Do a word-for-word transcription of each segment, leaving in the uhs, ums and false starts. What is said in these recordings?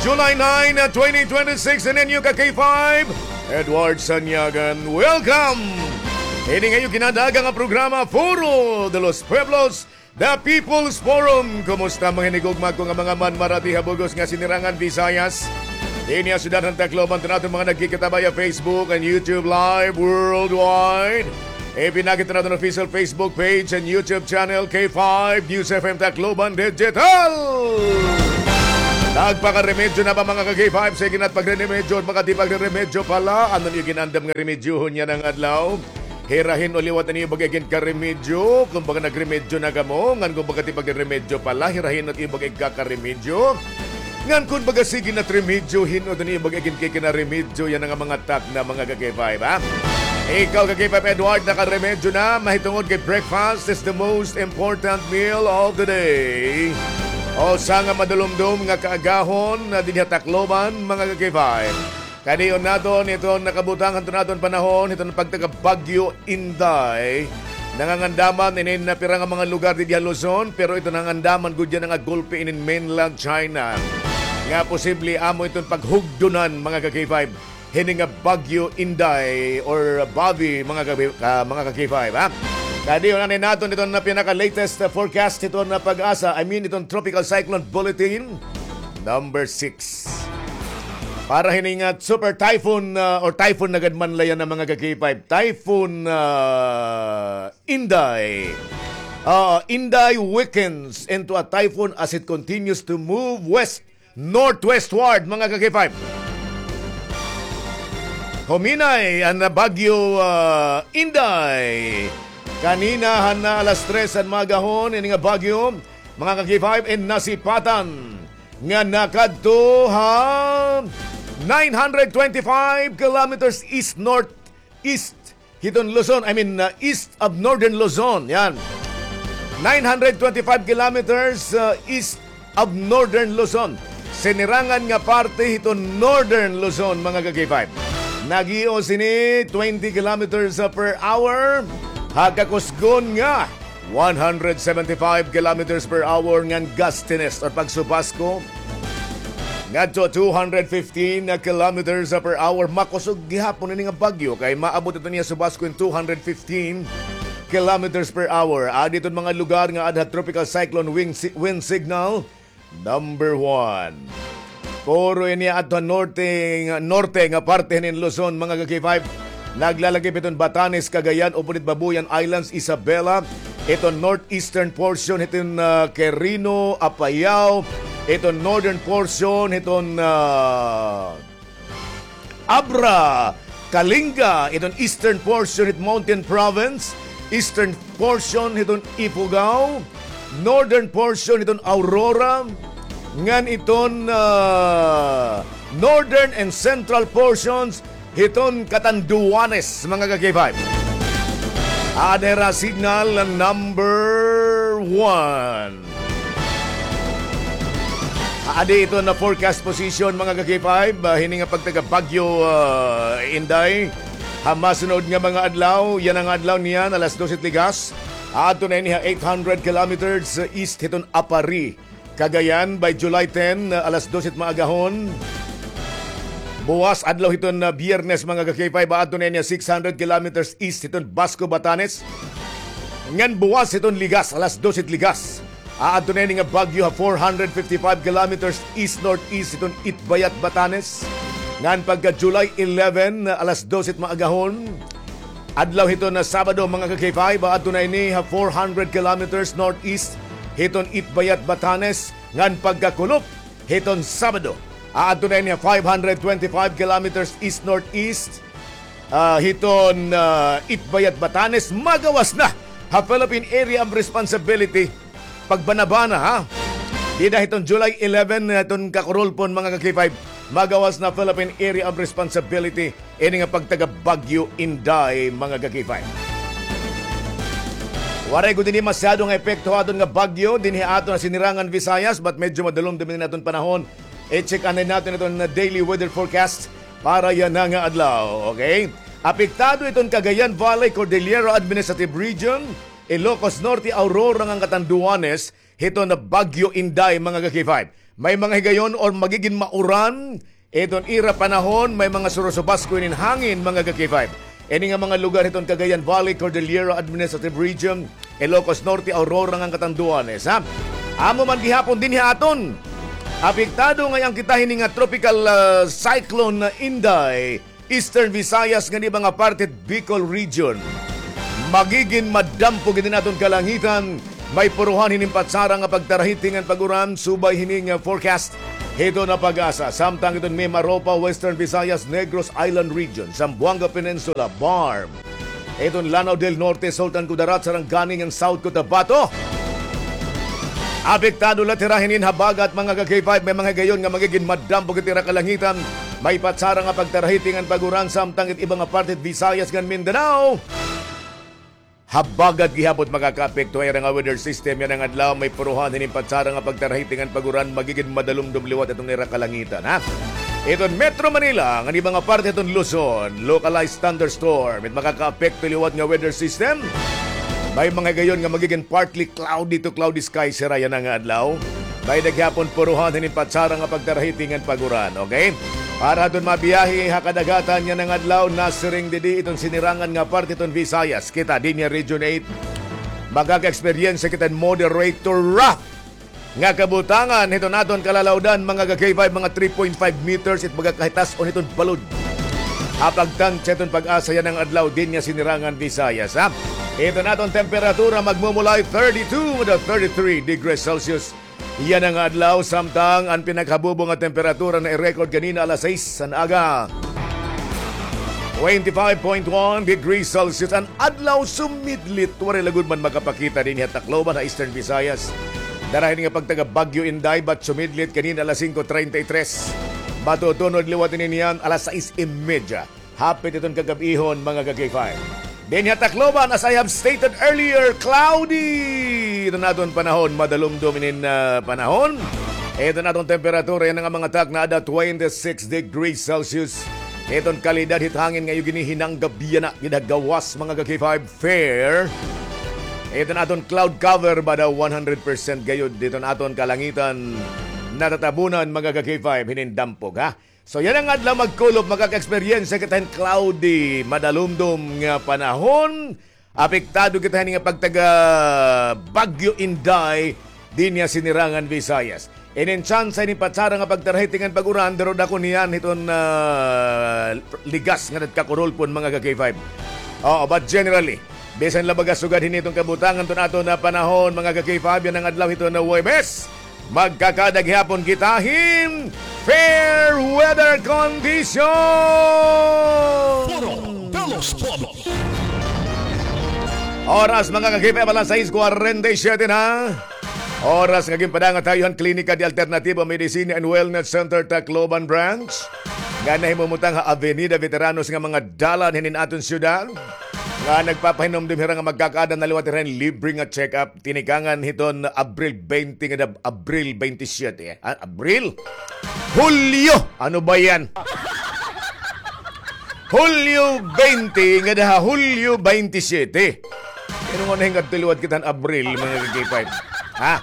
July nine, twenty twenty-six, and inyo ka K five, Edward Sanyagan. Welcome! Ini nga iyo kinadaga nga programa, Foro de los Pueblos, The People's Forum. Kumusta mga hinigugma ko nga mga manmarati ha bug-os nga Sinirangan Visayas? Dinhi ha syudad han Tacloban, to naton mga nagkikita via Facebook and YouTube Live worldwide. Ipinakita naton official Facebook page and YouTube channel, K five News F M Tacloban Digital. Nagpakaremedyo na ba, mga ka-K five? Sige na't pagreremedyo, baka di pagreremedyo pala. Ano niyo ginandam nga remedyohon yana nga adlaw? Hirahin o liwat an iyo bag-o iginkaremedyo. Kumbaga, nagremedyo na kamo. Ngan kumbaga, ti pagreremedyo pala, hirahin an iyo bag-o igkakaremedyo. Ngan kumbaga, sige na't remedyo, hin-od an iyo bag-o iginkikinaremedyo. Yana nga mga takna, mga ka-K five, ha? Ikaw, ka-K five Edward, nakaremedyo na, mahitungod kay breakfast is the most important meal of the day. Usa nga madulumdom nga kaagahon na dinhi ha Tacloban, mga ka-K five. Kadion naton iton nakabutang han aton panahon, iton pagtaga Bagyo Inday. Nangangandaman inin na pira nga mga lugar dinhi ha Luzon, pero iton nangandaman gud yana nga gulpi inin mainland China. Nga posible amo iton paghugdonan, mga ka-K five, hini nga Bagyo Inday or Bavi, mga ka, ah, mga ka-K five, ha? Kadion anay naton iton na pinaka-latest, ah, forecast iton na PAGASA, I mean, iton Tropical Cyclone Bulletin number six. Para hini nga super typhoon, ah, or typhoon na gad man la yana, mga ka-K five. Typhoon, ah, Inday. Ah, Inday weakens into a typhoon as it continues to move west northwestward, mga ka-K five. Huminay an Bagyo, ah, Inday. Kanina han alas tres han maagahon, ini nga bagyo, mga ka-K five, in nasipatan nga nakadto ha nine hundred twenty-five kilometers east-northeast hiton Luzon, I mean, uh, east of northern Luzon. Yan. Nine hundred twenty-five kilometers, uh, east of northern Luzon. Sinirangan nga parte hiton northern Luzon, mga ka-K five. Nag-ios ini twenty kilometers per hour. Ha kakusgon nga one hundred seventy-five kilometers per hour ngan gustiness or pagsubasko ngadto two hundred fifteen kilometers per hour. Makusog gihapon ini nga bagyo kay maabot iton iya subasko in two hundred fifteen kilometers per hour. Adi iton mga lugar nga ada ha Tropical Cyclone Wing si-, Wind Signal number one. Puro ini adto ha norte, norte nga parte hinin Luzon, mga ka-K five. Naglalakip iton Batanes, Cagayan, upod it Babuyan Islands, Isabela, iton northeastern portion hiton, ah, Quirino, Apayao, iton northern portion hiton, ah, Abra, Kalinga, iton eastern portion hit Mountain Province, eastern portion hiton Ifugao, northern portion hiton Aurora, ngan iton, ah, northern and central portions hiton Catanduanes, mga ka-K five. Ada hira signal number one. Adi iton na forecast position, mga ka-K five, ah, hini nga pagtaga Bagyo, ah, Inday. Ha masunod nga mga adlaw, yana nga adlaw niyan, alas dose ligas. Adto na ini ha eight hundred kilometers east hiton Aparri, Cagayan, by July ten, ah, alas dose maagahon. Buwas adlaw hiton, ah, Biyernes, mga ka-K five, adto na ini ha six hundred kilometers east hiton Basco, Batanes. Ngan buwas hiton ligas, alas dose ligas. Aadto na ini nga bagyo ha four hundred fifty-five kilometers east-northeast hiton Itbayat, Batanes. Ngan pagka July eleven, alas dose maagahon, adlaw hiton Sabado, mga ka-K five, aadto na ini ha four hundred kilometers northeast hiton Itbayat, Batanes. Ngan pagkakulop hiton Sabado, aadto na ini ha five hundred twenty-five kilometers east-northeast ah, hiton, ah, Itbayat, Batanes, magawas na ha Philippine Area of Responsibility. Pagbanabana, ha? Dida hiton July eleven, hiton kakurulpon, mga ka-K five, magawas na Philippine Area of Responsibility ini nga pagtaga Bagyo Inday, mga ka-K five. Waray gud ini masyado nga epekto ha aton nga bagyo dinhi ha aton nga Sinirangan Visayas, but medyo madulom-dom ini aton panahon. I-check anay naton iton daily weather forecast para yana nga adlaw, okay? Apektado iton Cagayan Valley, Cordillera Administrative Region, Ilocos Norte, Aurora ngan Catanduanes hiton Bagyo Inday, mga ka-K five. may mga higayon or magigin mauran iton ira panahon, may mga surusubasko inin hangin, mga ka-K five. Ini nga mga lugar hiton Cagayan Valley, Cordillera Administrative Region, Ilocos Norte, Aurora ngan Catanduanes, ha? Amo man gihapon dinhi ha aton. Apektado ngay-an kita hini nga Tropical, ah, Cyclone Inday, Eastern Visayas ngan iba nga parte Bicol Region. Magigin madampo gid in aton kalangitan. May puruhan hinin patsara nga pagtarahiti ngan pag-uran, subay hini nga forecast hiton PAGASA. Samtang hiton Mimaropa, Western Visayas, Negros Island Region, Zamboanga Peninsula, BARMM, hiton Lanao del Norte, Sultan Kudarat, Sarangani ngan South Cotabato. Apektado la it ira hinin habagat, mga ka-K five, may mga higayon nga magigin madampo gid it ira kalangitan. May patsara nga pagtarahiti ngan pag-uran, samtang it iba nga parte it Visayas ngan Mindanao, habagat gihapon makakaapekto ha ira nga weather system yana nga adlaw. May puruhan hinin patsara nga pagtarahiti ngan pag-uran, magigin madalumdom liwat iton ira kalangitan, ha? Iton Metro Manila ngan iba nga parte iton Luzon, localized thunderstorm it makakaapekto liwat nga weather system. May mga higayon nga magigin partly cloudy to cloudy skies hira yana nga adlaw. May-ada gihapon puruhan hinin patsara nga pagtarahiti ngan pag-uran, okay? Para hiton mabiyahe ha kadagatan yana nga adlaw, nasiring didi iton sinirangan nga parte iton Visayas. Kita dinhi ha Region eight, makaka-eksperyensya kita hin moderate to rough nga kabutangan hiton aton kalalawdan, mga ka-K five, mga three point five meters it magakahitas-on hiton balod. Ha pagtansya hiton PAGASA yana nga adlaw dinhi ha sinirangan Visayas, ha? Iton aton temperatura magmumulay thirty-two to thirty-three degrees Celsius yana nga adlaw, samtang an pinakahabubo nga temperatura na-record kanina alas sais han aga, twenty-five point one degrees Celsius. An adlaw sumidlit, waray la gud man makapakita dinhi ha Tacloban, ha Eastern Visayas. Dara hini nga pagtaga Bagyo Inday, but sumidlit kanina alas singko treinta y tres. Matutunod liwat ini niyan alas sais y media. Hapit iton kagab-ihon, mga ka-K five. Dinhi ha Tacloban, as I have stated earlier, cloudy iton aton panahon, madalumdom inin, ah, panahon. Iton aton temperatura yana nga mga takna, ada twenty-six degrees Celsius. Iton kalidad hit hangin nga iyo ginihinanggab yana gid ha gawas, mga ka-K five, fair. Iton aton cloud cover, bada one hundred percent gayod iton aton kalangitan, natatabunan, mga ka-K five, hinin dampog, ha? So, yana nga adlaw magkulop, makaka-eksperyensya kita hin cloudy, madalumdom nga panahon. Apektado kita hini nga pagtaga Bagyo Inday dinhi ha sinirangan Visayas. Inin tsansa hini patsara nga pagtarahiti ngan pag-uran, pero dako niyan hiton, ah, ligas nga nagkakurulpon, mga ka-K five. Oo, but generally, bisan la baga sugad hini iton kabutangan hiton aton panahon, mga ka-K five, yana nga adlaw hiton Huwebes, magkakaada gihapon kita hin fair weather condition. Foro de los Pueblos. Oras, mga ka-K five, alas sais kwarenta y siyete na. Oras nga ginpadangat ha iyo han Klinika de Alternativa Medicina and Wellness Center Tacloban Branch, nga nahimumutang ha Avenida Veteranos nga mga dalan hinin aton syudad, nga nagpapahinumdom hira nga magkakaada na liwat hira hin libre nga check-up tinikangan hiton Abril twenty ngada ha Abril twenty-seven, eh. Ah, Abril? Hulyo! Ano ba yan? Hulyo twenty ngada ha Hulyo twenty-seven. Ano nga nahingadto liwat kita hin Abril, mga ka-K five? Ha?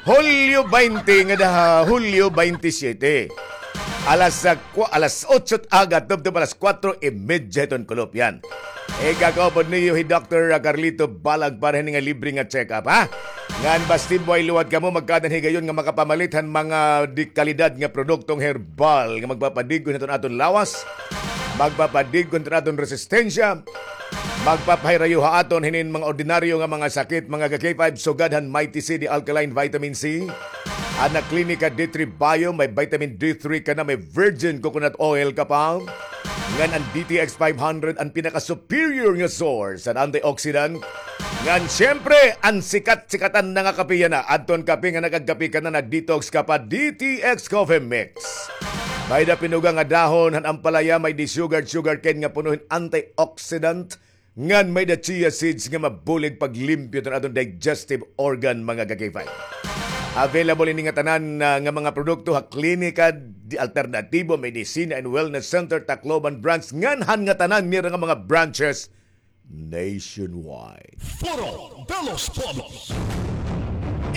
Hulyo twenty ngada ha Hulyo twenty-seven. Alas sa kwa-, alas otso aga, tubtob alas kwatro y media hiton kulop, yan. Ikakaupod niyo hi Doktor Carlito Balag para hini nga libre nga check-up, ha? Ngan basti buay liwat kamo, magkaada hin higayon nga makapamalit han mga de kalidad nga produktong herbal nga magpapadig-on hiton aton lawas, magpapadig-on hiton aton resistensya, magpapahirayo ha aton hinin mga ordinaryo nga mga sakit, mga ka-K five, sugad han Mighty C, the alkaline vitamin C, an Klinika D three Bio, may vitamin D three ka na, may virgin coconut oil ka pa. Ngan an D T X five hundred, an pinaka-superior nga source han antioxidant. Ngan, siyempre, an sikat-sikatan na nga kape yana, adton kape nga nakagkape ka na, nag-detox ka pa, D T X Coffee Mix. May-ada pinuga nga dahon han ampalaya, may-ada sugar, sugarcane nga puno hin antioxidant. Ngan may-ada chia seeds nga mabulig paglimpyo hiton aton digestive organ, mga ka-K five. Available ini nga tanan, ah, nga mga produkto ha Klinika de Alternativo Medicina and Wellness Center, Tacloban Branch, ngan han ngatanan nira nga mga branches nationwide. Foro de los Pueblos.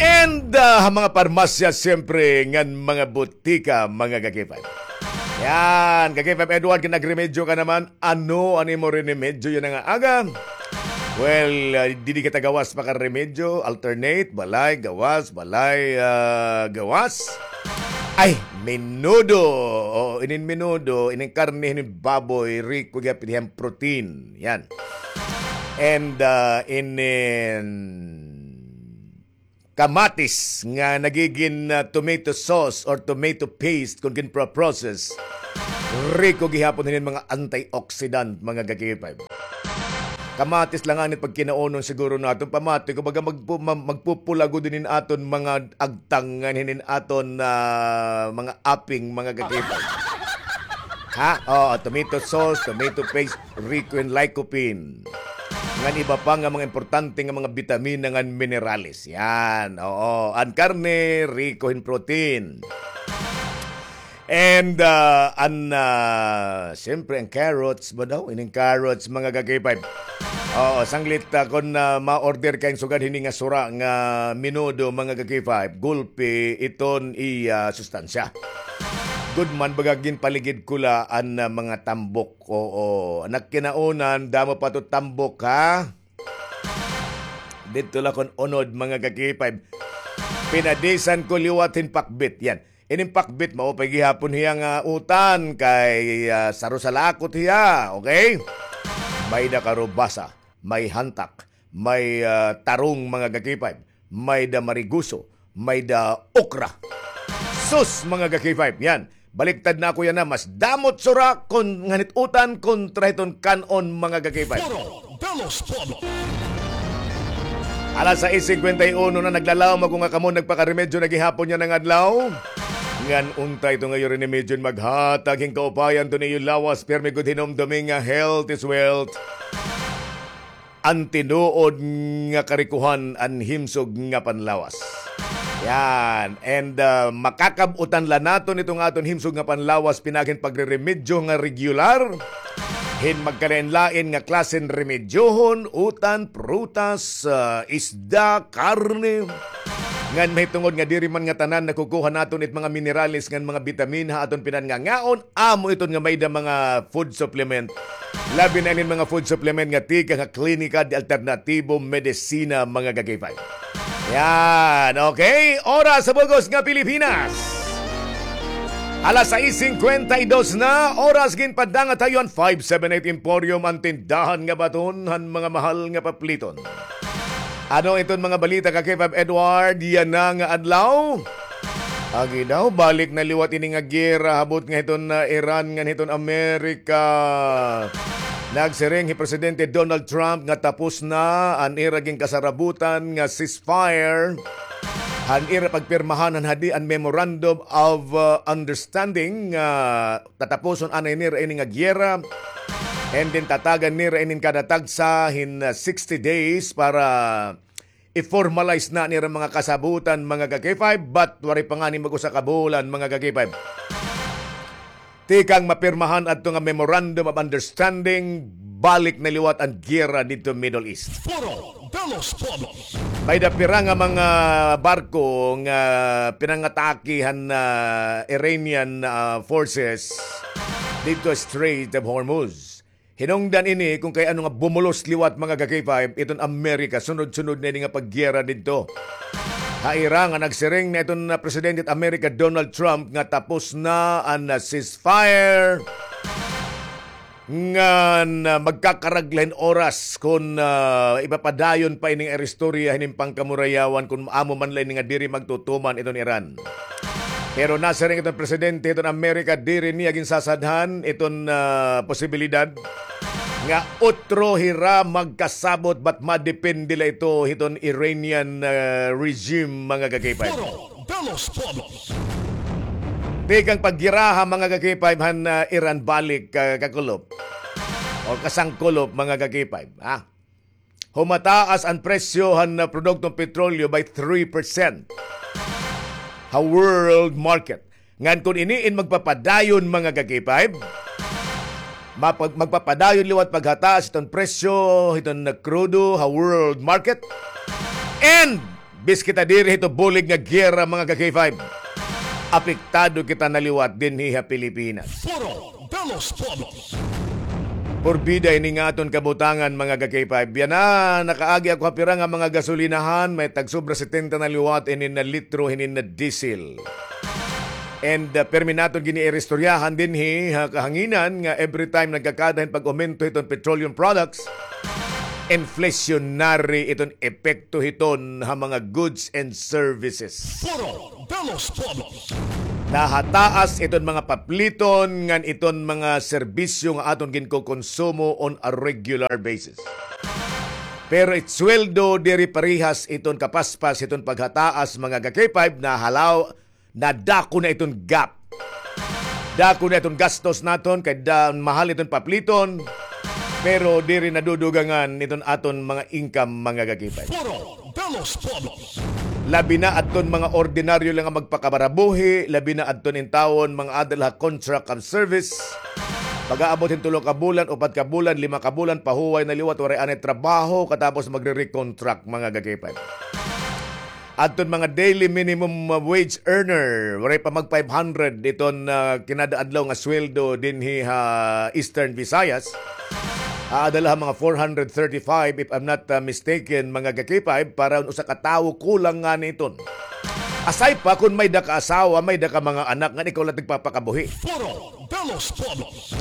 And ah, ha mga parmasya, siyempre, ngan mga butika, mga ka-K five. Yan, ka-K five Edward, kay nagremedyo ka naman. Ano an imo rinemedyo yana nga aga? Well, ah, didi kita gawas makaremedyo, alternate, balay, gawas, balay, ah, gawas. Ay, menudo. Oo, inin menudo, inin karne, inin baboy, riko gihapon hiya hin protein. Yan. And ah, inin kamatis nga nagigin ah, tomato sauce or tomato paste kon ginpro-process. Riko gihapon hinin mga antioxidant, mga ka-K five. Kamatis la ngani it pagkinaunon siguro naton. Pamati ko, baga magpu-, ma-, magpupula gud hinin aton mga agtang ngan hinin aton ah, mga aping, mga ka-K five. Ha? Oo, tomato sauce, tomato paste, riko hin lycopene. Ngan iba pa nga mga importante nga mga bitamina ngan minerales. Yan, oo. An karne, riko hin protein. And ah, an, ah, siyempre, an carrots ba daw? Ining carrots, mga ka-K five. Oo, sanglit ah, kon ah, ma-order ka hin sugad hini nga sura nga menudo, mga ka-K five, gulpi iton iya sustansya. Good man, baga ginpaligid ko la an ah, mga tambok. Oo, nagkinaunan, damo pa to tambok, ha? Didto la kon unod, mga ka-K five. Pinadisan ko liwat hin pakbit. Yan. Inin pakbit, maupay gihapon hiya nga utan kay ah, saro sa lakot hiya, okay? May-ada karubasa, may hantak, may ah, tarong, mga ka-K five, may-ada mariguso, may-ada okra. Sus, mga ka-K five, yan. Baliktad na ako yana, mas damo it sura kon ngan hit utan kontra hiton kan-on, mga ka-K five. Foro de los Pueblos. Alas sais singkwenta y uno na, naglalawom ako nga kamo nagpakaremedyo na gihapon yana nga adlaw. Ngan unta ito nga iyo rinemedyo maghatag hin kaupayan to niyo lawas, pirmi gud hinumdumi nga health is wealth. An tinuod nga karikohan an himsog nga panlawas. Yan. And ah, makakab-utan la naton ito nga aton himsog nga panlawas pinaagi hin pagreremedyo nga regular. Hin magkalain-lain nga klase hin remedyohon, utan, prutas, ah, isda, karne. Ngan mahitungod nga diri man ngatanan nakukuha naton it mga minerales ngan mga bitamin ha aton pinangangaon, amo iton nga may-ada mga food supplement. Labi na inin mga food supplement nga tikang ha Klinika de Alternatibo Medicina, mga ka-K five. Yan, okay? Oras sa bug-os nga Pilipinas. Alas sais singkwenta y dos na, oras ginpadangat ha iyo an five seven eight Emporium, an tindahan nga baton han mga mahal nga papliton. Ano iton mga balita, ka-K five Edward, yana nga adlaw? Agi daw, balik na liwat ini nga giyera habot nga hiton, ah, Iran ngan hiton Amerika. Nagsiring hi Presidente Donald Trump nga tapos na an ira ginkasarabutan nga ceasefire, an ira pagpirmahan han hadi an Memorandum of, ah, Understanding, nga tatapuson anay nira ini nga giyera. And then tatagan nira inin kada tagsa hin, ah, sixty days para i-formalize na an ira mga kasabutan, mga ka-K five, but waray pa ngani mag-usa ka bulan, mga ka-K five. Tikang mapirmahan adto nga Memorandum of Understanding, balik na liwat an giyera didto Middle East. Foro de los Pueblos. May-ada pira nga mga barko nga pinangatake han, ah, Iranian, ah, forces didto Strait of Hormuz. Hinungdan ini kon kay ano nga bumulos liwat, mga ka-K five, iton Amerika, sunod-sunod na ini nga paggiyera didto ha ira, nga nagsiring na iton, ah, Presidente hit Amerika, Donald Trump, nga tapos na an, ah, ceasefire. Ngan, ah, magkakarag la hin oras kon, ah, ipapadayon pa ini nga ira istorya hinin pangkamurayawan kon amo man la ini nga diri magtutuman iton Iran. Pero nasiring iton presidente hiton Amerika, diri niya ginsasadhan iton, ah, posibilidad nga otro hira magkasabot, but madepende la ito hiton Iranian, ah, regime, mga ka-K five. Foro de los Pueblos. Tikang paggiraha, mga ka-K five, han, ah, Iran balik, ah, kakulop o kasangkulop, mga ka-K five, ha? Humataas an presyo han, ah, produktong petrolyo by three percent ha world market. Ngan kon ini in magpapadayon, mga ka-K five, mapag-, magpapadayon liwat paghataas hiton presyo hiton, ah, krudo ha world market. And Bis kita diri hito bulig nga giyera, mga ka-K five. Apektado kita na liwat dinhi ha Pilipinas. Foro de los Pueblos. Porbida ini nga aton kabutangan, mga ka-K five. Yana, nakaagi ako ha pira nga mga gasolinahan, may tagsobra setenta na liwat ini na litro, hini na diesel. And, uh, pirmi naton gini iristoryahan dinhi ha kahanginan nga every time nagkakada hin pag-aumento hiton petroleum products, inflationary iton epekto hiton ha mga goods and services. Foro de los Pueblos. Nahataas iton mga papliton ngan iton mga serbisyo nga aton ginkokonsumo on a regular basis. Pero it sweldo diri parehas iton kapaspas hiton paghataas, mga ka-K five, nahalaw, nadako na iton gap. Dako na iton gastos naton kay da-, mahal iton papliton, pero diri nadudugangan iton aton mga income, mga ka-K five. Foro de los Pueblos. Labi na adton mga ordinaryo lang nga magpakabarabuhi, labi na adton intawon mga ada la ha contract of service. Pag-aabot hin tulo ka bulan, upat ka bulan, lima ka bulan, pahuway na liwat, waray anay trabaho, katapos magre-recontract, mga ka-K five. Adton mga daily minimum wage earner, waray pa mag five hundred iton, ah, kinada adlaw nga sweldo dinhi ha Eastern Visayas. Aada la ha mga four hundred thirty-five, if I'm not, ah, mistaken, mga ka-K five, para usa ka tawo kulang ngani iton. Aside pa kon may da ka asawa, may da ka mga anak, ngan ikaw la tigpapakabuhi. Foro de los Pueblos.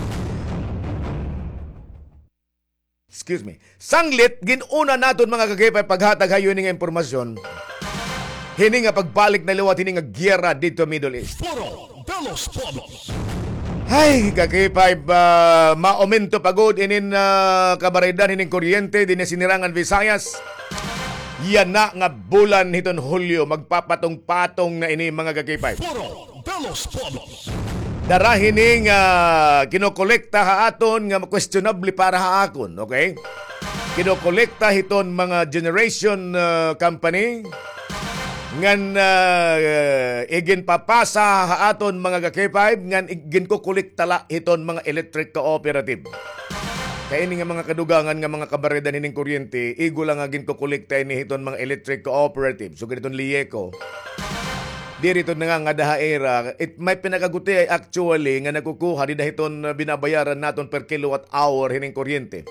Excuse me. Sanglit, gin-una naton, mga ka-K five, paghatag ha iyo hini nga impormasyon. Hini nga pagbalik na liwat hini nga giyera didto Middle East. Foro de los Pueblos. Ay, ka-K five, ah, maaumento pa gud inin, ah, kabaraydan hinin kuryente dinhi ha Sinirangan Visayas. Yana nga bulan hiton Hulyo, magpapatong-patong na ini, mga ka-K five. Foro de los Pueblos. Dara hini nga kinokolekta ha aton nga questionable para ha akon, okay? Kinokolekta hiton mga generation, ah, company ngan, ah, iginpapasa ha aton mga ka-K five ngan iginkokolekta la hiton mga electric cooperative. Kay ini nga mga kadugangan nga mga kabaredan hining kuryente, igo la nga ginkokolekta ini hiton mga electric cooperative. So, ganiton Lieco. Diri ito nangangada ha ira. It, may pinakagutiay actually nga nakukuha dida hiton, uh, binabayaran naton per kilowatt hour hining kuryente.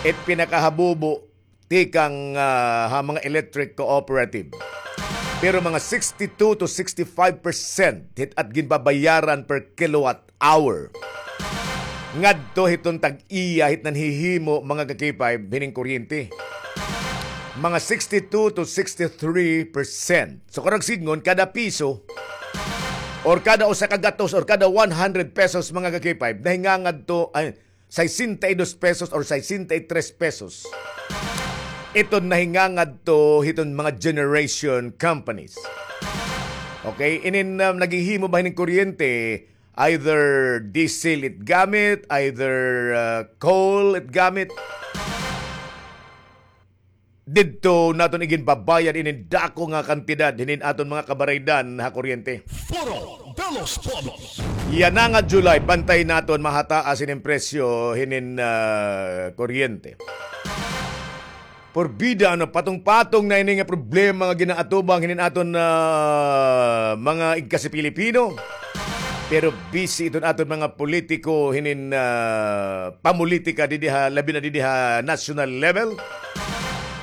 It pinakahabubo tikang, ah, ha mga electric cooperative. Pero mga sixty-two to sixty-five percent hit at ginbabayaran per kilowatt hour ngadto hiton tag-iya hit nanhihimo, mga ka-K five, hining kuryente. Mga sixty-two to sixty-three percent. So, karag sidngon, kada piso or kada usa ka gatos or kada one hundred pesos, mga ka-K five, nahingangadto, ay, sesenta y dos pesos or sesenta y tres pesos. Iton nahingangadto hiton mga generation companies. Okay, inin, um, naghihimo ba hining kuryente, either diesel it gamit, either, uh, coal it gamit. Didto naton iginbabayad inin dako nga kantidad hinin aton mga kabaraydan ha kuryente. Foro de los Pueblos. Yana nga July, bantay naton mahataas inin presyo hinin, ah, kuryente. Porbida, ano, patong-patong na ini nga problema nga ginaatubang hinin aton, ah, mga igkasi Pilipino. Pero busy iton aton mga politiko hinin, ah, pamulitika didi ha, labi na didi ha national level.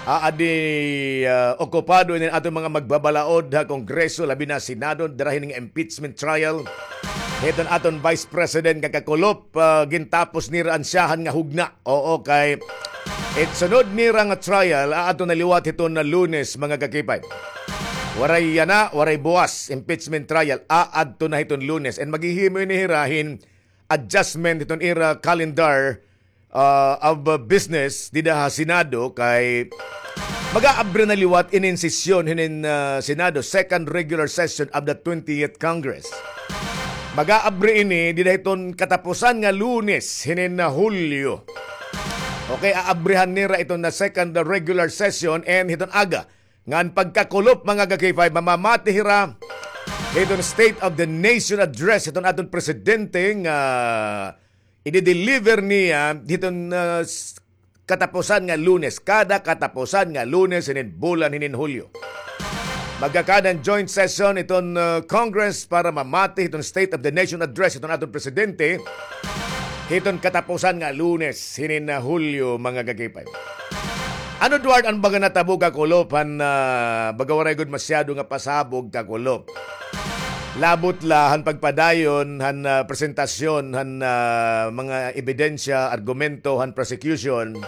Aadi, ah, okupado ini aton mga magbabalaod ha Kongreso, labi na Senado, dara hini nga impeachment trial. Hiton aton Vice President nga kakulop, ah, gintapos nira an siyahan nga hugna. Oo, kay it sunod nira nga trial, aadto na liwat hiton na Lunes, mga ka-K five. Waray yana, waray buwas, impeachment trial, aadto na hiton Lunes. And maghihimo ini hira hin adjustment hiton ira calendar, ah, of, ah, business dida ha Senado kay mag-aabri na liwat inin sesyon hinin, ah, Senado, second regular session of the twentieth Congress. Mag-aabri ini dida hiton katapusan nga Lunes hinin, ah, Hulyo. Okay, aabrihan nira iton na second regular session and hiton aga ngan pagkakulop, mga ka-K five, mamamati hira hiton State of the Nation Address hiton aton presidente nga i-deliver niya hiton, ah, s-, katapusan nga Lunes, kada katapusan nga Lunes hinin bulan hinin Hulyo. Magkakaada an joint session iton, uh, Congress para mamati hiton State of the Nation Address hiton aton presidente hiton katapusan nga Lunes hinin, uh, Hulyo, mga kakipay. Ano, Edward, an baga natabo, kakulop, han, uh, baga waray gud masyado nga pasabog, kakulop? Labot la han pagpadayon han, uh, presentasyon han, uh, mga ebidensya, argumento han prosecution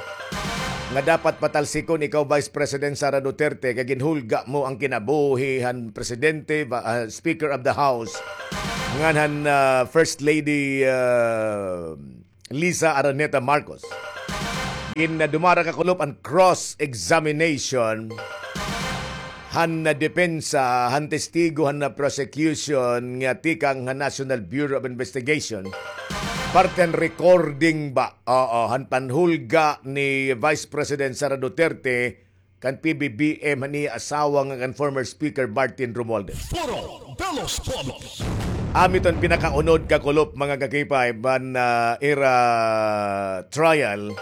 nga dapat patalsikon ikaw, Vice President Sara Duterte, kay ginhulga mo an kinabuhi han presidente, ba, ah, Speaker of the House, ngan han, ah, First Lady, ah, Liza Araneta Marcos. Gin, ah, dumara, kakulop, an cross-examination han, ah, depensa, han testigo, han, ah, prosecution nga tikang han National Bureau of Investigation. Parte han recording ba? Oo, han panhulga ni Vice President Sara Duterte kan P B B M han iya asawa nga kan former Speaker Martin Romualdez. Foro de los Pueblos. Amo iton pinakaunod, kakulop, mga kakipay, han, ah, ira trial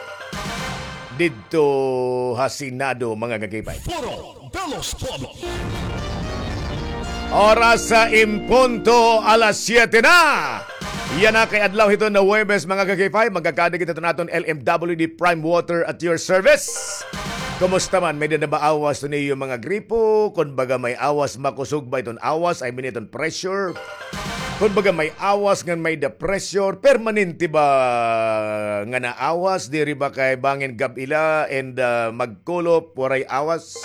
didto ha Senado, mga kakipay. Foro de los Pueblos. Oras sa en punto alas siyete na. Yana kay adlaw hiton nga Huwebes, mga kakipay, magkakaada kita hiton aton L M W D Prime Water at your service. Kumusta man? May-ada na ba awas hiton iyo mga gripo? Kon baga may awas, makusog ba iton awas? I mean, iton pressure. Kon baga may awas ngan may-ada pressure, permanente ba nga naawas? Diri ba kay bangin gab-i la and, ah, magkulop, waray awas?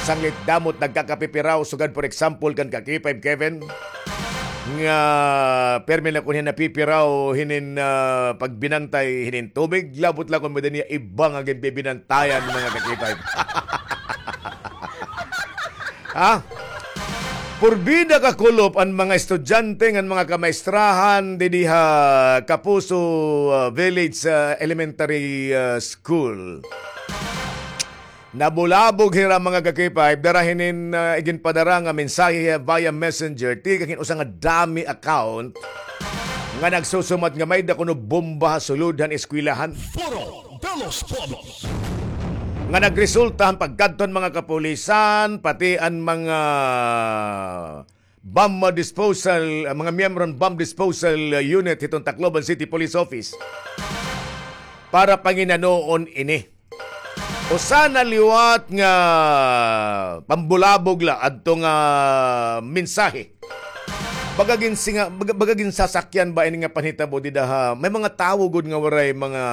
Sanglit damo it nagkakapipiraw, sugad, for example, kan Kakipay Kevin, nga permi la kon hin napipiraw hinin, ah, pagbinantay hinin tubig, labot la kon may-ada niya iba nga ginbibinantayan, mga kakipay. Ha? Purbida, kakulop, an mga estudyante ngan mga kamaestrahan didi ha Kapuso, ah, Village, ah, Elementary, ah, School. Nabulabog hira, mga kakipay, dara hinin, ah, iginpadara nga mensahe via messenger tikang hin usa nga dummy account nga nagsusumat nga may-ada kuno bomba ha sulod han eskwelahan. Foro de los Pueblos. Nga nagresulta han pagkadto han mga kapulisan, pati an mga bomb disposal, ah, mga miyembro han bomb disposal, ah, unit hiton Tacloban City Police Office para panginanoon ini. Usa na liwat nga pambulabog la adto nga mensahe. Baga ginsinga-, baga, baga ginsasakyan ba ini nga panhitabo dida ha may mga tawo gud nga waray mga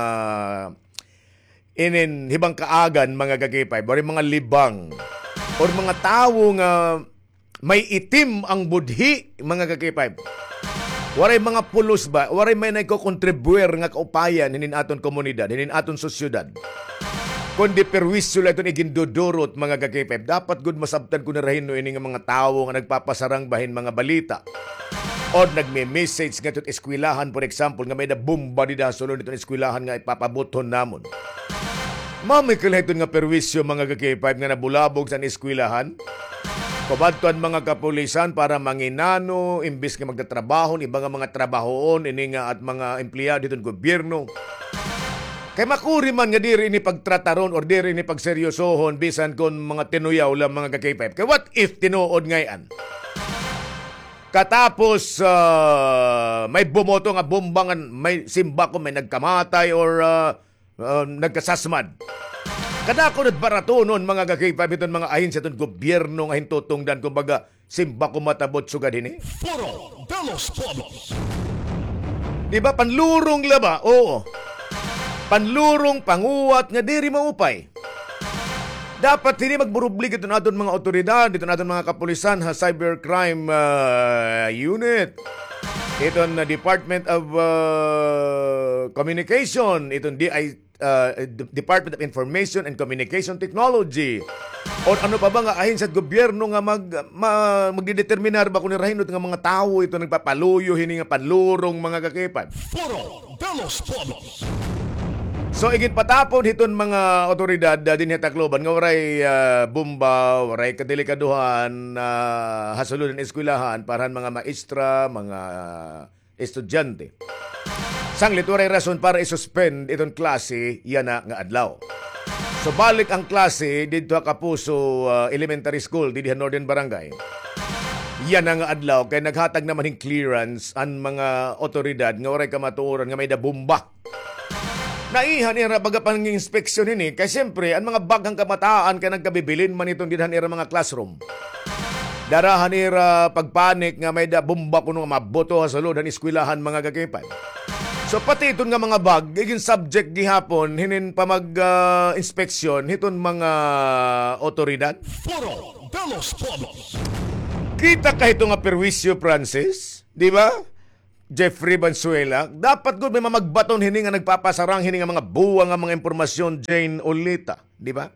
inin hibang kaagan, mga kakipay, waray mga libang, or mga tawo nga may itim an budhi, mga kakipay. Waray mga pulos ba? Waray may nagkokontribuir nga kaupayan hinin aton komunidad, hinin aton sosyedad. Kundi perwisyo la iton igindudurot, mga kakipay. Dapat gud masabtan kuno hira hin-o ini nga mga tawo nga nagpapasarang ba hin mga balita or nagme-message ngadto ha eskwelahan, for example, nga may-ada bomba dida ha sulod hiton eskwelahan nga ipapabuthon namon. Mao may kalahiton nga perwisyo, mga kakipay, nga nabulabog sa eskwelahan. Kumadto an mga kapulisan para manginano, imbis nga magtatrabaho an iba nga mga trabahoon, ini nga at mga empleyado hiton gobyerno. Kay makuri man nga diri ini pagtrataron or diri ini pagseryosohon, bisan kon mga tinuyaw la, mga kakipay. Kay what if tinuod ngay-an? Katapos, ah, may bumoto nga bomba ngan may simba kon may nagkamatay or, ah, ah, nagkasasmad. Kadako na it baratonon, mga kakipay, hiton mga ahensya hiton gobyerno nga hintutungdan, kumbaga, simba kon matabot sugad hini. Foro de los Pueblos. Di ba, panlurong la ba? Oo. Panlurong, panguwat nga diri maupay. Dapat hini magburublig iton aton mga awtoridad, iton aton mga kapulisan ha cybercrime, ah, unit, iton, ah, Department of, ah, Communication, iton D I, ah, D-, Department of Information and Communication Technology, or ano pa ba nga ahensya hit gobyerno nga mag-, ma-, magdedeterminar ba kon hira hin-o nga mga tawo iton nagpapaluyo hini nga panlurong, mga kakipay. Foro de los Pueblos. So, iginpatapon hiton mga awtoridad, ah, dinhi ha Tacloban nga waray, ah, bomba, waray kadelikadohan, ah, ha sulod han eskwelahan para han mga maestra, mga estudyante. Sanglit waray rason para i-suspend iton klase yana nga adlaw. So, balik an klase didto ha Kapuso, ah, Elementary School, didi ha Northern Barangay. Yana nga adlaw, kay naghatag naman hin clearance an mga otoridad nga waray kamatuoran nga may-ada bomba. Naiha nira baga pang-inspeksyon hini, kay siyempre, an mga bag han kabataan kay nagkabibilin man iton dida han ira mga classroom. Dara han ira pagpanik nga may-ada bomba kuno nga mabuto ha sulod han eskwelahan, mga ka-K five. So, pati iton nga mga bag, igin subject gihapon hinin pamag, ah, inspeksyon hiton mga otoridad. Foro de los Pueblos. Kita ka hito nga perwisyo, Francis, di ba? Jeffrey Valenzuela, dapat gud may mamagbaton hini nga nagpapasarang hini nga mga buwa nga mga impormasyon, Jane Olita, di ba?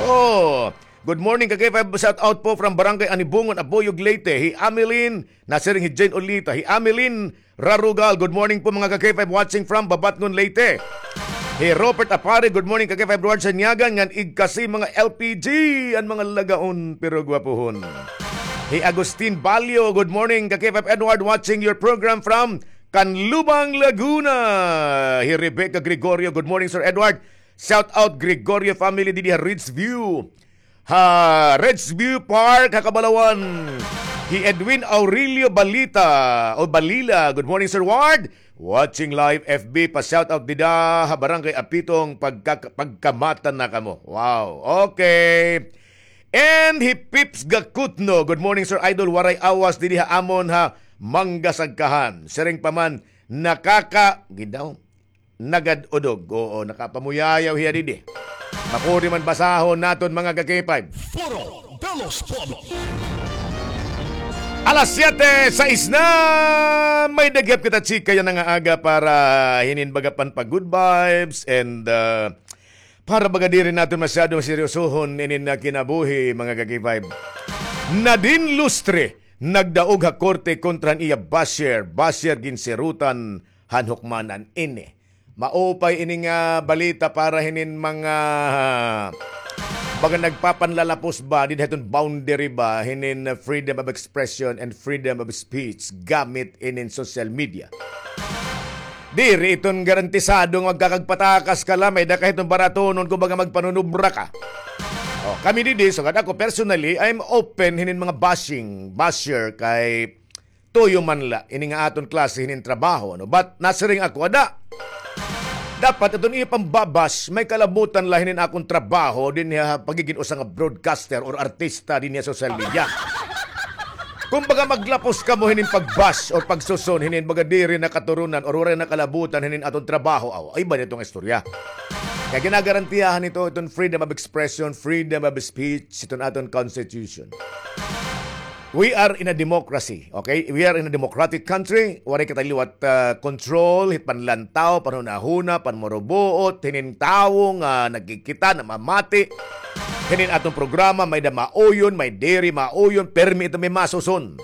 Oh, good morning, ka-K five, shout out po from Barangay Anibungon, Abuyog, Leyte. Hi Ameline, nasiring hi Jane Olita. Hi Ameline Rarugal, good morning po, mga ka-K five, watching from Babatngon, Leyte. Hi Robert Apare, good morning, ka-K five, Edward Sanyagan, ngan igkasi mga L P G, an mga lagaon, pero gwapuhon. Hi Agustin Balyo, good morning, ka-K five Edward, watching your program from Canlubang, Laguna. Hi Rebecca Gregorio, good morning, Sir Edward. Shout out Gregorio family didi ha Ridgeview. Ha Ridgeview Park, ha Kabalawan. Hi Edwin Aurelio Balita, o Balila, good morning, Sir Ward. Watching live F B, pa-shout out dida ha Barangay Apitong, pagka-, pagkamata na kamo. Wow, okay. And hi Pips Gakutno, good morning, Sir Idol. Waray awas didi ha amon ha Manggasagkahan. Siring pa man, nakaka-, gid daw, nagad-udog. Oo, nakapamuyayaw hiya didi. Makuri man basahon naton, mga ka-K five. Foro de los Pueblos. Alas siyete, sais na. May-ada gihap kita chika yana nga aga para hinin baga pan pa-good vibes and, uh, para baga diri naton masyado seryosohon inin nga kinabuhi, mga ka-K five. Nadine Lustre, nagdaog ha korte kontra han iya basher, basher ginsirutan han hukmanan ini. Maupay ini nga balita para hinin mga, baga nagpapanlalapos ba, dida hiton boundary ba, hinin freedom of expression and freedom of speech gamit inin social media. Diri iton garantisado nga magkakagpatakas ka la, may-ada ka hiton baratonon kon baga magpanunubra ka. Oh, kami didi, sugad ako, personally, I'm open hinin mga bashing, basher kay tuyo man la ini nga aton klase hinin trabaho, no? But nasiring ako, ada. Dapat iton iya pambabash, may kalabutan la hinin akon trabaho dinhi ha pagigin usa nga broadcaster or artista dinhi ha social media. Kumbaga, maglapos kamo hinin pagbash or pagsuson hinin baga diri na katurunan or waray na kalabutan hinin aton trabaho, aw, ay ba nito nga istorya? Kaya ginagarantiyahan nito iton freedom of expression, freedom of speech, iton aton constitution. We are in a democracy, okay? We are in a democratic country. Waray kita liwat, ah, control, hit panlantaw, panhunahuna, panmurubuot, hinin tawo nga nagkikita, namamati. Hinin aton programa, may-ada mauyon, may diri mauyon, permi ito may masuson.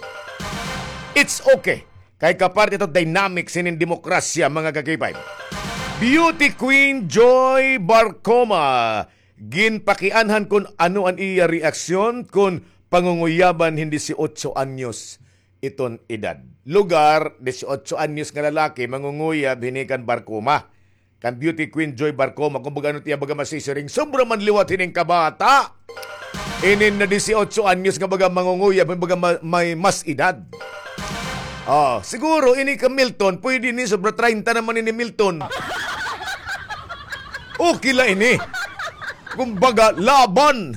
It's okay. Kay kaparte ito dynamics hinin demokrasya, mga ka-K five. Beauty Queen Joy Barcoma. Ginpakianhan kon ano an iya reaksyon kon pangunguyaban hin disiotso anyos iton edad. Lugar, disiotso anyos nga lalaki, mangunguyab hini kan Barcoma. Kan Beauty Queen Joy Barcoma, kumbaga ano tiya baga masisiring, sobra man liwat hinin kabata. Inin na disiotso anyos nga baga mangunguyab, baga ma-, may mas edad. Oh, siguro ini ka Milton, pwede ni sobra treinta naman ini Milton. Okay la ini. Kumbaga, laban.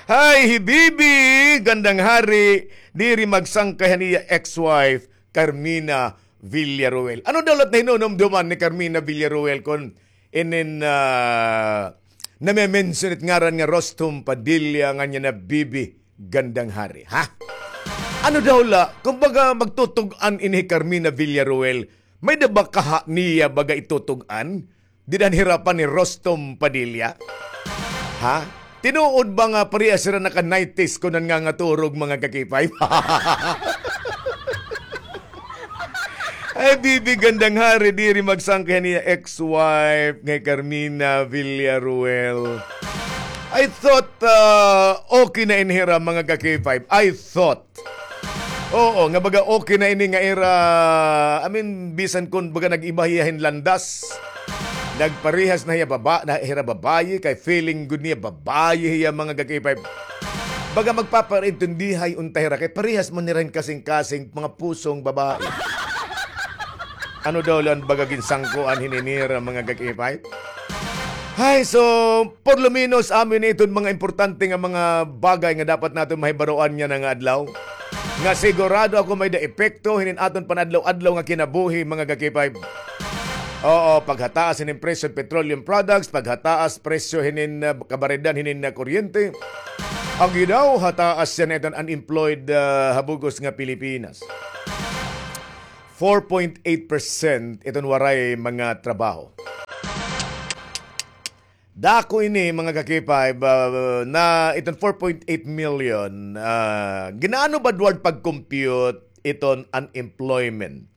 Hay, hi Bibi, gandang hari, diri magsangkay han iya ex-wife, Carmina Villaruel. Ano daw la it nahinunumduman ni Carmina Villaruel kon inin, ah, name-mention it ngaran nga Rostom Padilla ngan yana Bibi gandang hari, ha? Ano daw la, kumbaga magtutug-an ini hi Carmina Villaruel, may-ada ba kaha niya baga itutug-an? Dida han hirapan ni Rostom Padilla? Ha? Tinuod ba nga parehas hira naka-nineties kon nangangaturog, mga ka-K five? Ay, Bibi, gandang hari, diri magsangkay han iya ex-wife nga hi Carmina Villaruel. I thought, ah, okay na ini hira, mga ka-K five. I thought. Oo, nga baga okay na ini nga ira, I mean, bisan kon baga nag-iba hiya hin landas. Nagparehas na hiya baba-, na hira babayi, kay feeling gud niya babayi hiya, mga ka-K five. Baga magpaparaintindihay unta hira, kay parehas man nira hin kasingkasing mga pusong babae. Ano daw la an baga ginsangkuan hini nira, mga ka-K five? Hay, so, por lo menos, amo ini iton mga importante nga mga bagay nga dapat naton mahibaroan niyan nga adlaw. Nga sigurado ako may-ada epekto hinin aton panadlaw-adlaw nga kinabuhi, mga ka-K five. Oo, paghataas hinin presyo hin petroleum products, paghataas presyo hinin, ah, kabaredan hinin, ah, kuryente. Agi daw, hataas yana iton unemployed, ah, ha bug-os nga Pilipinas. Four point eight percent iton waray mga trabaho. Dako ini, mga ka-K five, ah, na iton four point eight million, ah, gin-aano ba, Edward, pag-compute iton unemployment?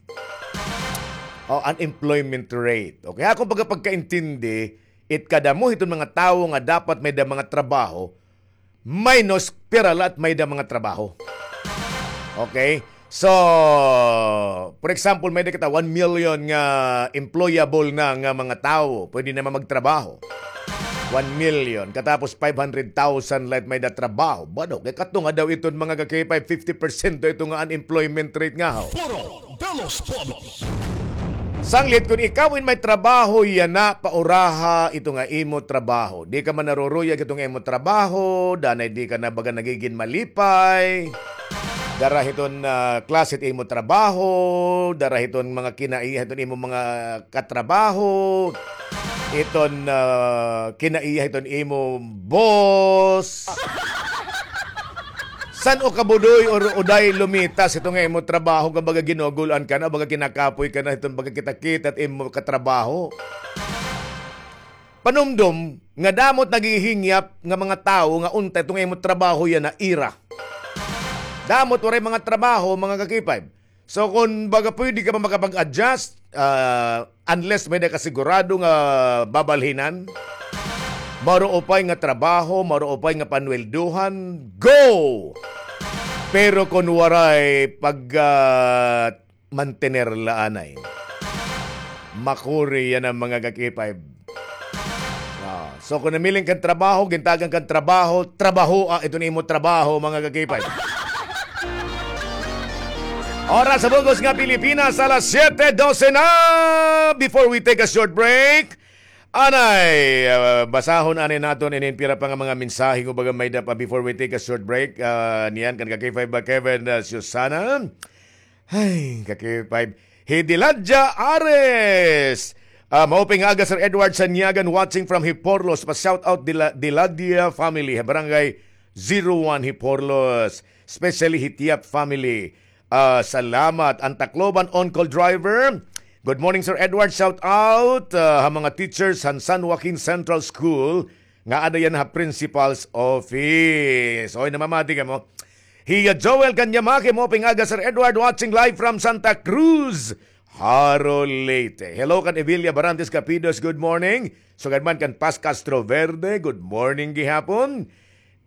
O, unemployment rate. Okay, akon pagka-, pagkaintindi, it kadamo hiton mga tawo nga dapat may-ada mga trabaho, minus pira la it may-ada mga trabaho. Okay? So, for example, may-ada kita one million nga employable na nga mga tawo, pwede naman magtrabaho. One million. Katapos five hundred thousand la it may-ada trabaho. Bado, kay kato nga daw iton, mga ka-K five, fifty percent daw ito nga unemployment rate nga, ho. Foro de los Pueblos. Sanglit, kun ikaw in may trabaho yana, pauraha ito nga imo trabaho. Di ka man naruruyag ito nga imo trabaho, danay di ka na baga nagigin malipay. Dara hiton, ah, klase it imo trabaho, dara hiton mga kinaiya hiton imo mga katrabaho, iton, ah, kinaiya hiton imo boss. San-o ka, Budoy, or Uday, lumitas ito nga imo trabaho, nga baga ginugul-an ka na, baga kinakapoy ka na, iton baga kita-kita it imo katrabaho? Panumdom nga damo it naghihingyap nga mga tawo nga unta ito nga imo trabaho yana ira. Damo it waray mga trabaho, mga ka-K five. So, kun baga pwede ka pa makapag-adjust, ah, unless may-ada ka sigurado nga babalhinan, maruupay nga trabaho, maruupay nga panweldohan, go! Pero kun waray pag, ah, mantener la anay, makuri yana, mga ka-K five. Ah, so kun namiling kan trabaho, gintagan kan trabaho, trabahoa iton imo trabaho, mga ka-K five. Oras ha bug-os nga Pilipinas, alas siyete dose na. Before we take a short break, anay, ah, basahon anay naton inin pira pa nga mga mensahe, kumbaga, may-ada pa before we take a short break. Ah, niyan kan ka-K five ba, Kevin, ah, Susana? Ay, ka-K five. Hi Diladia Ares. Ah, maupay nga aga, Sir Edward Sanyagan, watching from Hiporlos. Pa-shout out Dila-, Diladia family, ha Barangay zero one Hiporlos. Especially Hitiap family. Ah, salamat. An Tacloban on-call driver. Good morning, Sir Edward. Shout out, ah, ha mga teachers han San Joaquin Central School nga ada yana ha principal's office. Oy, namamati kamo. Hiya Joel Kanyamaki, maupay nga aga, Sir Edward, watching live from Santa Cruz, Jaro, Leyte. Hello kan Evelia Barantes Capidos, good morning. Sugad man kan Paz Castro Verde, good morning gihapon.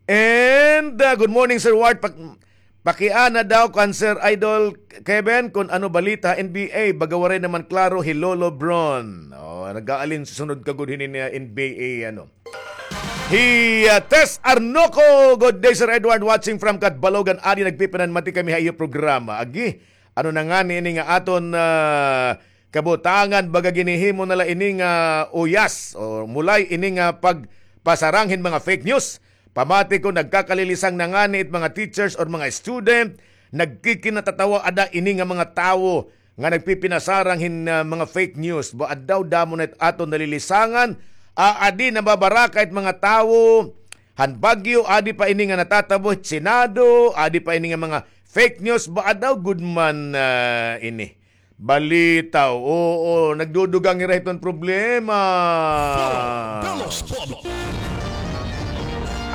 And, uh, good morning, Sir Ward. Pak-, pakiana daw kan Sir Idol Kevin kun ano balita N B A. Baga waray naman klaro hi Lolo Bron. Oh, nag-aalin sunod ka gud hini nga N B A, ano. Hi, uh, Tess Arnoco, good day, Sir Edward, watching from Catbalogan. Adi nagpipinanmati kami ha iyo programa. Agi, ano na ngani ini nga aton, uh, kabutangan, baga ginhihimo na la ini nga uyas, o mulay ini nga pagpasarang hin mga fake news. Pamati ko, nagkakalilisang na ngani it mga teachers or mga student, nagkikinatatawa ada ini nga mga tawo nga nagpipinasarang hin, ah, mga fake news. Ba, addaw damo na it aton nalilisangan, ah, adi nababaraka it mga tawo han bagyo, adi pa ini nga natatabo hit Senado, adi pa ini nga mga fake news, ba, addaw gud man, ah, ini. Balitaw, oo, nagdudugang hira hiton problema. Foro de los Pueblos.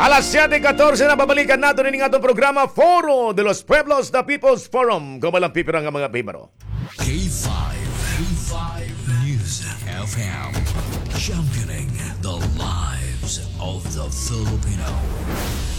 Alas siyete katorse na, babalikan naton ini nga aton programa, Foro de los Pueblos, the People's Forum. Kauban la an pipira nga mga pahibaro. K five, K five News F M, championing the lives of the Filipino.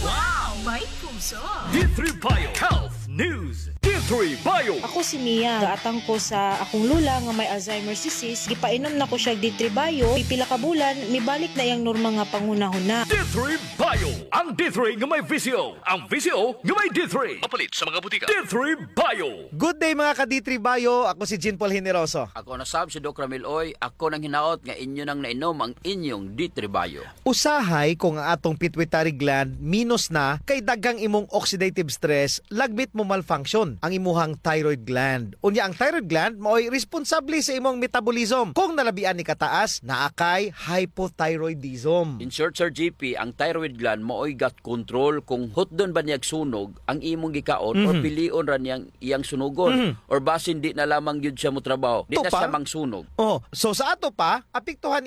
Wow! May puso! D three Bio Health News. Three Bio. Ako si Mia. Gaatang ko sa akong lola nga may Alzheimer's disease. Gipainom na ko siya D three Bio. Pipila ka bulan, mibalik na iyang normal nga panghunahuna. D three Bio. Ang D three nga may V C O. Ang V C O nga may D three. Mapalit sa mga butika. D three Bio. Good day, mga ka D three Bio. Ako si Jean Paul Generoso. Ako na sab si Doc Ramil Oy. Ako nang hinaot nga inyo nang nainom ang inyong D three Bio. Usahay kung ang atong pituitary gland minus na, kay daghang imong oxidative stress, lagmit mo malfunction ang imuhang thyroid gland. Unya, ang thyroid gland maoy responsable sa imong metabolism. Kung nalabian ni kataas, naa kay hypothyroidism. In short, Sir G P, ang thyroid gland maoy gut control kung hutdon ba niyag sunog ang imong gikaon or Mhm. pilion ra niyang iyang sunugon Mhm. or basin di na lamang gyud siya motrabaho, di na Tupa. siya mangsunog. Oh, so sa ato pa, apektuhan